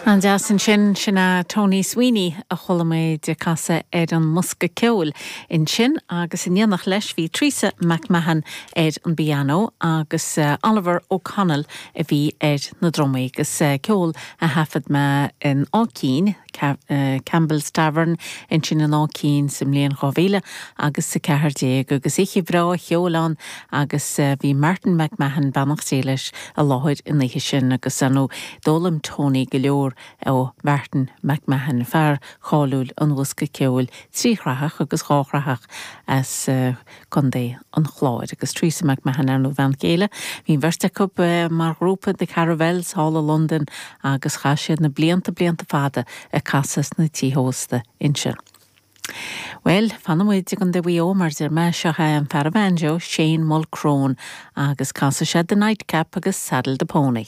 An-deas ansin, sin é Tony Sweeney a chuala muid ag casadh ar an mbosca ceoil ansin agus in éineacht leis bhí Teresa McMahon ar an bpianó agus Oliver O'Connell a bhí ar na drumaí agus ceol a thaifead mé in Áth Cinn, Campbell's Tavern ansin in Áth Cinn sa mbliain 2000 agus 14 agus oíche bhreá cheoil ann agus bhí Martin McMahon, beannacht Dé leis, i láthair an oíche sin agus ar ndóigh d'fhoghlaim Tony go leor ó Mhartin McMahon, fear cáiliúil an bhosca ceoil tríshrathach agus dháshraitheach as Contae an Chláir. Agus Teresa McMahon ar ndóigh a bhean chéile. Bhí an bheirt acu mar ghrúpa The Caravelles thall i Londain agus chaith siad na blianta blianta fada ag casadh sna tithe ósta ansin. Bhuel, fanfaidh muid i gContae Mhaigh Eo mar deir mé, seo é an fear an bhanjo, Shane Mulchrone, agus casfaidh sé The Nightcap agus Saddle the Pony.